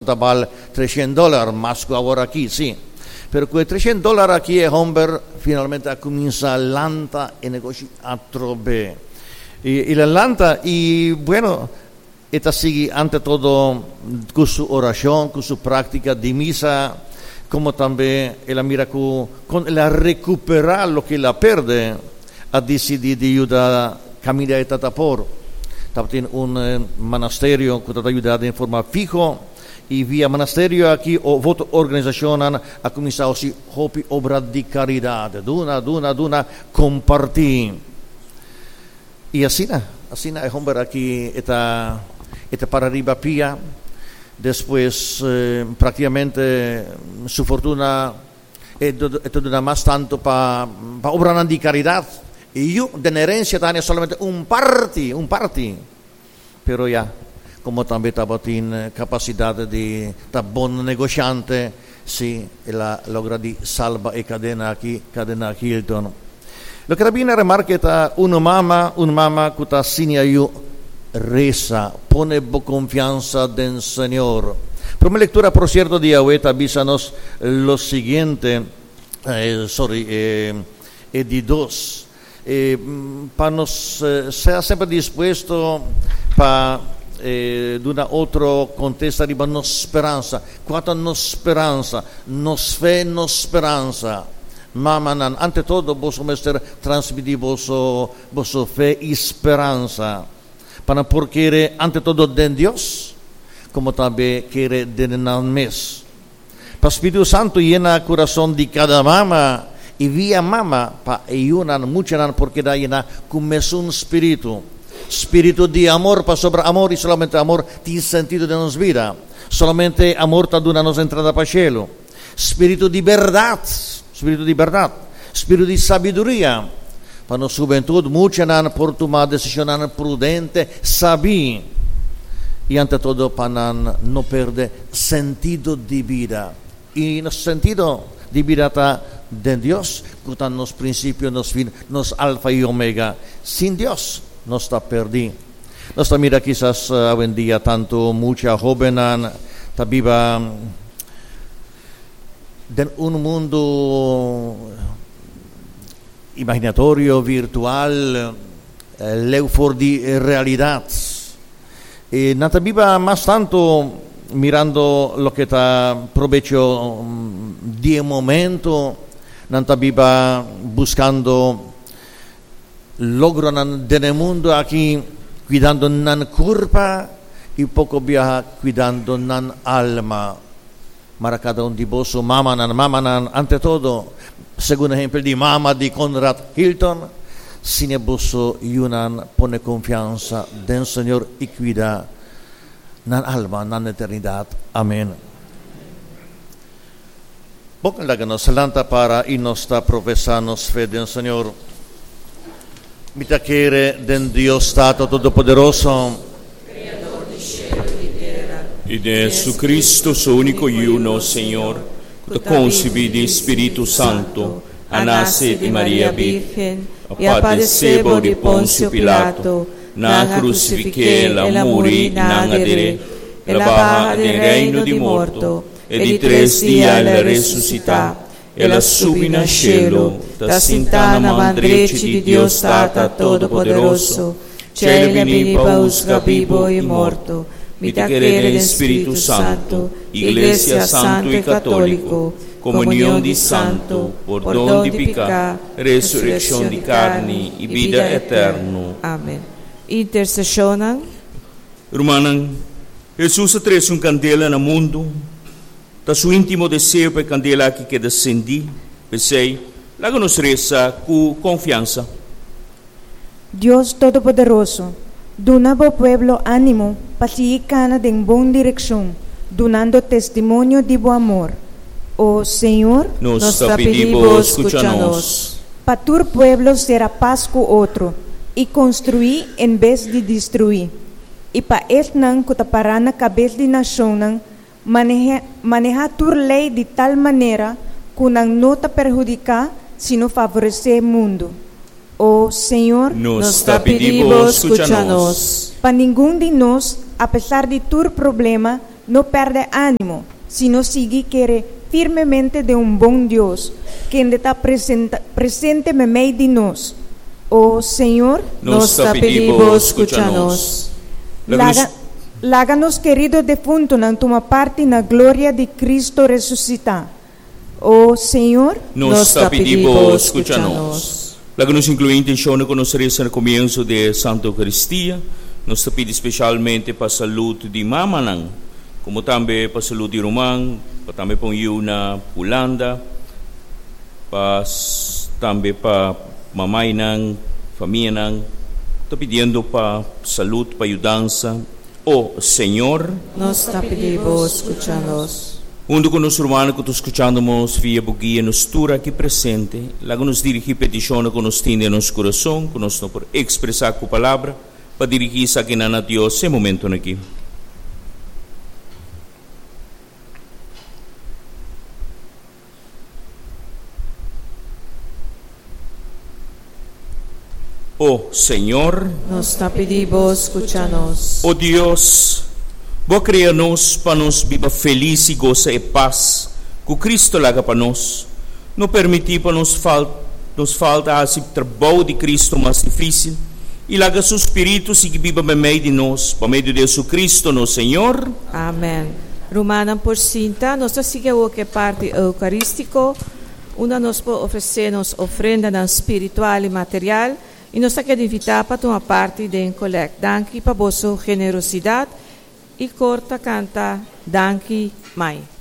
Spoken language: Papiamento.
tabata bal 300 dòler, mas ku awor aki, sí. Pero ku e 300 dòler aki e hòmber finalmente a kuminsá lanta e negoshi atrobe. I el a lanta i, bueno, e ta sigui ante todo ku su orashon, ku su práktika di misa, komo tambe el a mira ku kon el a rekuperá loke el a pèrdè, a disidí di yuda kaminda e tata por. Tabatin un manasterio ku tabata yuda den forma fiho i via manasterio aki of otro organisashonnan a kuminsá hasi hopi obra di karidat, duna, duna, duna, kompartí. I asina, asina e homber aki e ta e ta para riba pia, despues praktikamente su fortuna e e ta duna mas tantu pa pa obranan di karidat, i yu den herensia ta haña solamente un parti, un parti, pero ya komo tambe tabatin kapasidat di ta bon negoshante, si el a logra di salba e kadena aki, kadena Hilton. Loke ta bini na remarke ta un mama, un mama ku ta siña yu resa, pone bo konfiansa den Señor. Prome lektura, por sierto, di awe ta bisa nos lo siguiente, sorry, e di dos. Pa nos sea semper dispuesto pa duna otro kontesta riba nos speransa. Kua ta nos speransa? Nos fe, nos speransa. Mamanan, ante todo boso mester transmití boso boso fe i speransa pa nan por kere ante todo den Dios, komo tambe kere den nan mes. Pa Spiritu Santu yena kurason di kada mama i via mama pa e yunan, muchanan por keda yena ku mesun spiritu. Spiritu di amor, pasobra amor i solamente amor tin sentido den nos bida. Solamente amor ta duna nos entrada pa shelu. Spiritu di bèrdat, spiritu di bèrdat, spiritu di sabiduria, pa nos hubentut, muchanan por tuma desishonnan prudente, sabí, i ante todo pa nan no perde sentido di bida. I nos sentido di bida ta den Dios, ku ta nos prinsipio, nos fin, nos alfa i omega. Sin Dios, nos ta pèrdí. Nos ta mira kisas awendia tantu mucha hóbennan ta biba den un mundu imaginatorio, virtual, leu for di realidat. I nan ta biba mas tantu mirando loke ta probecho di e momento, nan ta biba buskando logronan den e mundu aki, kuidando nan kurpa i poko biaha kuidando nan alma. Mara kada un di boso mamanan, mamanan, ante todo, segun ehempel di mama di Conrad Hilton, siña boso yunan pone konfiansa den Señor i kuida nan alma, nan eternidat. Amen. Bon, laga nos lanta para i nos ta profesá nos fe den Señor. Mi ta kere den Dios Tata Todopoderoso, Kreador di shelu i tera. I den Jesucristo, su úniko Yu, nos Señor, ku ta konsibí di Spiritu Santu, a nase di Maria Bírgen, a padesé bou di Ponsio Pilato, nan a krusifik'é, el a muri i nan a der'é, el a baha den reino di morto, e di tres dia el a resusitá, El a subi na shelu, ta sintá na man drechi di Dios Tata Todopoderoso. Djei el a bini pa husga bibu i morto. Mi ta kere den Spiritu Santu, Iglesia santu i katóliko, komunion di santu, pordon di piká, resurekshon di karni i bida eterno. Amen. Interseshonnan. Rumannan, Hesus a trese un kandela na mundu. Ta su íntimo deseo pa e kandela aki keda sendí. P'esei, laga nos resa ku konfiansa. Dios Todopoderoso, duna bo pueblo ánimo pa sigui kana den bon direkshon, dunando testimonio di bo amor. O Señor. Nos ta pidi bo, skucha nos. Pa tur pueblo sera pas ku otro i konstruí en bes di destruí, i pa esnan ku ta pará na kabes di nashonnan Maneha maneha tur lei di tal manera ku nan no ta perhudiká sino favoresé mundu. O Señor. Nos ta pidi bo skucha nos. Pa ningun di nos, apesar di tur problema, no pèrdè ánimo, sino sigui kere firmemente den un bon Dios, kende ta presente meimei di nos. O Señor. Nos ta pidi bo, skucha nos. Laga laga nos kerido defuntonan tuma parti na gloria di Cristo resusitá. O Señor. Nos ta pidi bo, skucha nos. Laga nos inkluí intenshonnan ku nos resa na komienso di e Santa Eukaristia. Nos ta pidi speshalmente pa salud di mamanan, komo tambe pa salud di ruman, pa tambe pa un yu na Hulanda, pa tambe pa mamainan, famianan. Ta pidiendo pa salud, pa yudansa. O Señor. Nos ta pidi bo skucha nos. Huntu ku nos rumannan ku ta skuchando nos via bo guia nos tur aki presente, laga nos dirigí petishonnan ku nos tin den nos kurason ku nos no por ekspresá ku palabra, pa dirigí esakinan na Dios e momentunan aki. O Señor. Nos ta pidi bo skucha nos. O Dios, bo a krea nos pa nos biba felis i gosa e pas ku Cristo laga pa nos. No permití pa nos nos falta hasi trabou di Cristo mas difísil, i laga su Spiritu sigui biba meimei di nos, pa medio di Jesucristo nos Señor. Amen. Rumannan por sinta. Nos ta sigui awor ku e parti eukarístiko, unda nos por ofresé nos ofrendanan spiritual i material, i nos ta keda invitá pa tuma parti den kolèkt. Danki pa boso generosidat i kor ta kanta Danki, Mai.